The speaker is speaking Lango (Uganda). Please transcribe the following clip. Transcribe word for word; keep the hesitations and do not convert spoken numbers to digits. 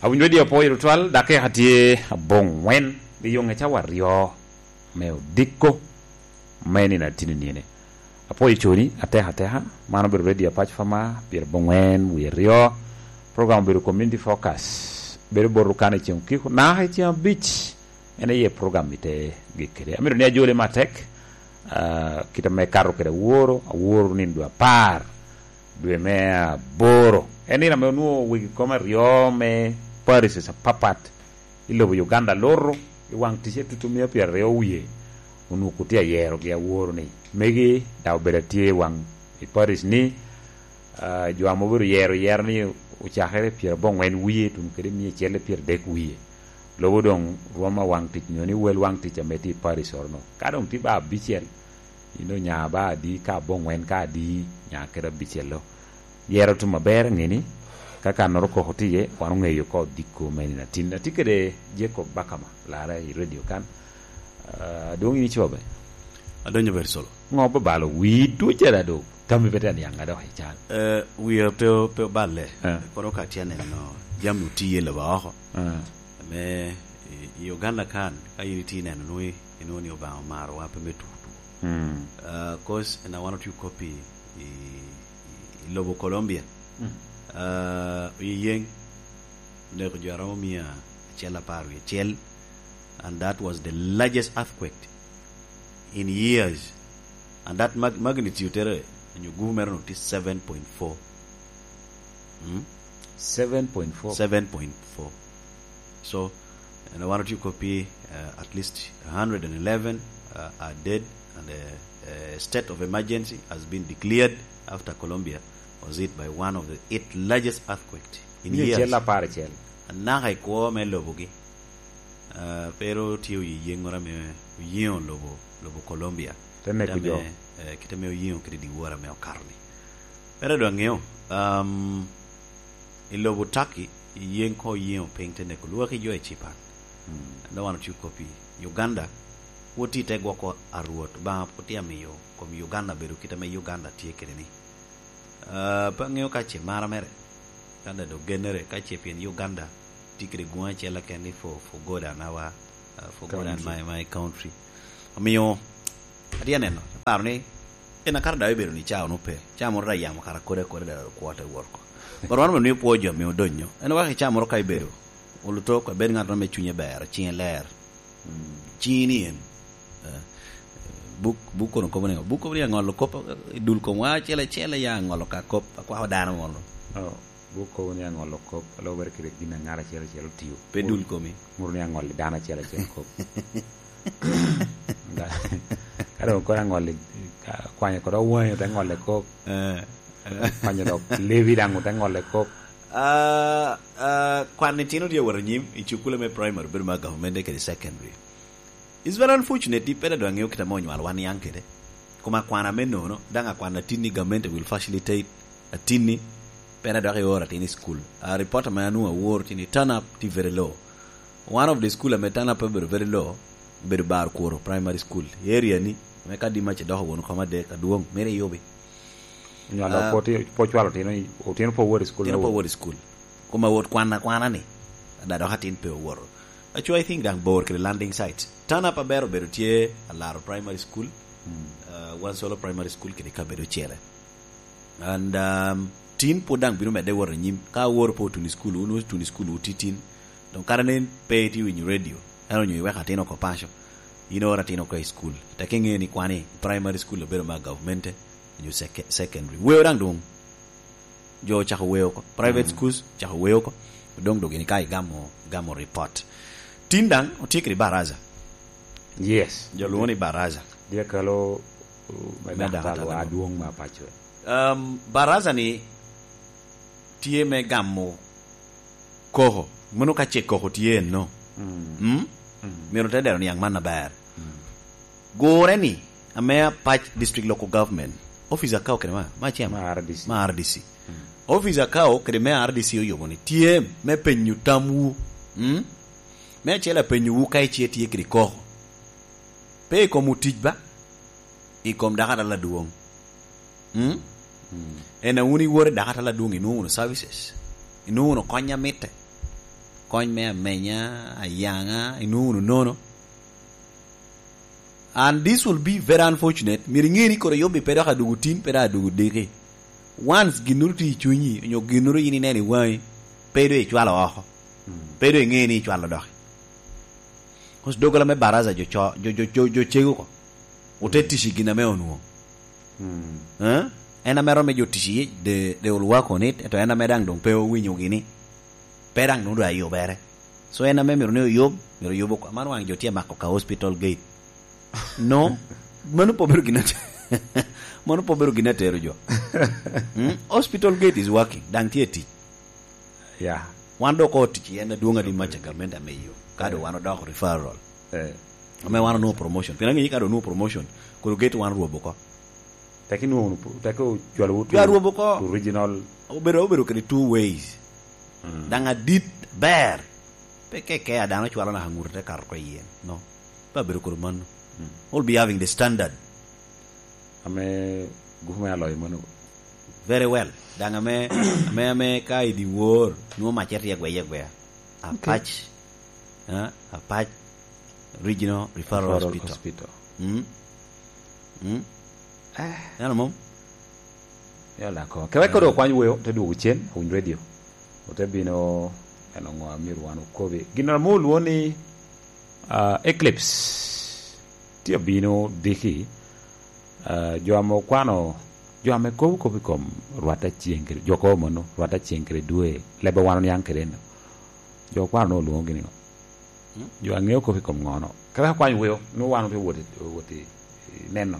Awinyo di apoyo tutwal, dakika tye abongwen, i yunge cawa aryo me odiko me nino atini nini. Apoyo coni, ateka ateka, man obedo Radio Apac Fama, pyer abongwen, wie aryo. Program obedo Community Focus, bedo bot Rukana i ceng okiko, naka i ceng abic, en aye program ite gik kede. Amito ni ajole matek, ah, kit ame kato kede aworo, aworo nino dwe apar, dwe me aboro. En nino ame onwoŋo wegi kom aryo me parishes apapat i lobo Uganda loro i waŋ ticce tutu mia pyeraryo wie, onwoŋo tye ayerogi aworo ni megi daŋ obedo atye i waŋ i parish ni, ah, jo ame obedo yero yero ni ocakere pyerabongwen wie tuno kede mia acel i pyeradek wie. Lobo doŋ rwom awaŋ tic nyo ni wel waŋ tic ame tye i parish oro no. Ka doŋ tye ba abicel, ino nya ba adi ka abongwen ka adi nya kede abicel-lo. Yero tum aber aŋeni, ka kannoro koko tye iye, wan oŋeyo ka odiko me nino atin. Atye kede Jacob Bakama, larre i radio kan. Ah, adwoŋ in icobe. Adonyo ber solo. Ŋo babalo wi duc ada do? Tammi pe tyen yaŋ adok i can. Eh, wiya pe o-, pe oballe. Eh. Kono ka tye neno jami otiye lobo oko. Eh. Me i, i Uganda kan, ka in itye neno nwoŋo i-, inwoŋo ni Obaŋa omarowa pe me tutu. Mm. Ah, 'cause na wan otye kop i, i, i lobo Colombia. Mm. Ah, oyeyeŋ oneko jo aromo mia acel apar wie acel, and that was the largest earthquake in years. And that mag-, magnitude tere, nyo gubu mere no tye seven point four. Hmm? Seven point four. Seven point four. So, and one or two copy, uh, at least a hundred and eleven, uh, are dead, and a, a state of emergency has been declared after Colombia was hit by one of the eight largest earthquakes in years. Mia acel apar acel. Anaka i kwo me lobogi. Ah, pero tye oyeyeŋ moro ame oyeŋo lobo, lobo Colombia. Te neko jo. Kit ame, eh, kit ame oyeŋo kede dyewor ame okato-ni. Pero dong aŋeo, um, i lobo Turkey, yeŋ ko oyeŋo piny te neko lwaki jo i Japan. Mm. Dok wan otye kop i Uganda, wot i te gwoko a Rwot, Obaŋa pwod tye amiyo kom Uganda bedo kit ame Uganda tye kede-ni. Ah, pe aŋeo ka ce mara mere, ka daŋ dok gennere, ka ce pien Uganda tye kede gwoŋ acel keken ni for, for God and our, ah, for God and my, my country. Omiyo, atye aneno, aparo ni, en akato daŋ obedo ni ca onwoŋo pe, ca moro daŋ yamo kara kodi akodi daŋ kwo te wot oko. But wan onwoŋo pwo jo ame odonyo. En wek i ca moro ka ibedo, oluto, ka ibed ŋat mo ame cunye ber, ciŋe ler. Mm. Ciŋi ni en. Eh, buk, buk kono kobo ni, buk kobo ni aŋolo kop, eh, i dul kom wa acel acel ya aŋolo ka kop, akwako dano mono. Oh, buk kobo ni aŋolo kop, alubere kede gin a ŋat acel acel otio. Pe dul komi. Muro ni aŋolo dano acel acel kop. Ka, ka dong kono aŋolo, ka kwanyo kodi owanyo te ŋolo kop. Eh, eh. Kwanyo dok lebi daŋ ote ŋolo kop. Ah, ah, kwan itino tye awot anyim i cukule me primary, bedo ma government kede secondary. It's very unfortunate, ni pera dong aŋeo kit ame onywal wan niaŋ kede. Kuma kwan ame nono, daŋ akwan atin ni government will facilitate atin ni, pera dok ioro atin i school. A report ame anwoŋo awor tye ni turn up tye very low. One of the school ame turn up obedo very low, obedo Bar Kworo Primary School. I area ni, ame ka Dimac idoko won kom adek adwoŋ, mere iyubi. Onywalo ah, po ti-, po cwalo otino i, otino po wot i school. Otino me po wot. Wot i school. Kuma wot kwan akwana ni, ada dok atin pe owoto. Actually, I think daŋ bor kede landing sites. Turn up aber obedo tye Alaro Primary School, mm, uh, Wansolo Primary School kede kabedo ocele. And, um, tin pwod daŋ bino medde wot anyim. Ka awor pe otuno i school, wun otuno i school, wuti tin. Dong kara nen pe itye winyo radio, ento onyo iweko atin oko paco, in ioro atin oko i school. Tek iŋe ni kwani primary school obedo ma government-e, onyo sec-, secondary. Weo daŋ dong. Jo ocako weo oko. Private, mm, schools ocako weo oko. Dong dok gini ka igamo, igamo report. Tin daŋ otye kede baraza. Yes. Jo lwongo ni baraza. Dyekalo, uh, me, me daktar daktar wa adwoŋ ma paco. Um, baraza ni tye me gamo koko. Mano ka ce koko tye eno. Mm. Mm? Mm. Myero te dero niaŋ man aber. Mm. Gure ni, ame Apac District Local Government, office akawo kede ma, ma chairman? Ma R D C. Ma R D C. Mm. Office akawo kede me R D C oyubo ni, tye me penyo tamwu. Mm? Me acel apenyowu ka ice tye kede koko. Pe i kom otic ba? I kom dako atala adwoŋ. Mm? Mm. En a wun iwor i dako atala adwoŋ, inwoŋo wunu services. Inwoŋo wunu kony a mitte, kony me amenya, ayaŋa, inwoŋo wunu nono. And this will be very unfortunate. Myero iŋe ni koro yubbi pe dok adwogo tin, pe dok adwogo diki. Once ginnoro tye i cunyi, onyo ginnoro in ineno i waŋi, pe doŋ icwalo oko. Pe doŋ iŋe ni icwalo doki. Kos doggola me baraza jo co-, jo, jo, jo, jo cego oko. Ote tic i gin ame onwoŋo. Eh? En ame romo jo tic iye, they, they will work on it, ento en ame daŋ doŋ pe owinyo gini. Pe daŋ doŋ doŋ ayubere. So en ame myero ni oyub, myero oyub oko. Man waŋ jo tye mako ka hospital gate. No, mano pe obedo gin ate-, mano pe obedo gin atero jo. Mm? Hospital gate is working, daŋ tye tic. Yeah. Wan dok oko tic i en adwoŋ adi mac a gamente ame yo. Ka doŋ wan odoko referral. Eh. Ame wan onwoŋo promotion. Pien aŋeyo ka doŋ onwoŋo promotion, koro gate wan rwobo oko. Teke inwoŋo wunu, teke ocwalo wunu Jo arwobo oko. Original. Obedo, obedo kede two ways. Mm. Daŋ adit ber. Pe keke a dano cwalo naka ŋut te kato oko i yen. No. Pe abedo kodi mano. Mm. We'll be having the standard. Ame gupu me aloyo mano. Very well. Daŋ ame, ame, ame ka i dyewor, nwoŋo mac etye agweye agweya. Okay. Apac. Ha? Apac Regional Referral Referral Hospital. Hospital. Mm? Mm? Eh. Neno mom? Ya lako. Kewek kode okwany weo, te dwogo cen, awiny radio. Ote bino, en oŋo a myero wan okobi. Gin ame olwoŋo ni, ah, eclipse. Tye obino diki, ah, jo ame okwano, jo ame kobo kop i kom rwat a ceng kede, jo kobo mano, rwat a ceng kede dwe, lebbe wan oniaŋ kede eno. Jo okwano nwoŋo olwoŋogi ni ŋo? Hmm? Jo a ŋeo kop i kom ŋo no? Kewek akwany weo, nwoŋo wan otye wot i, wot i neno.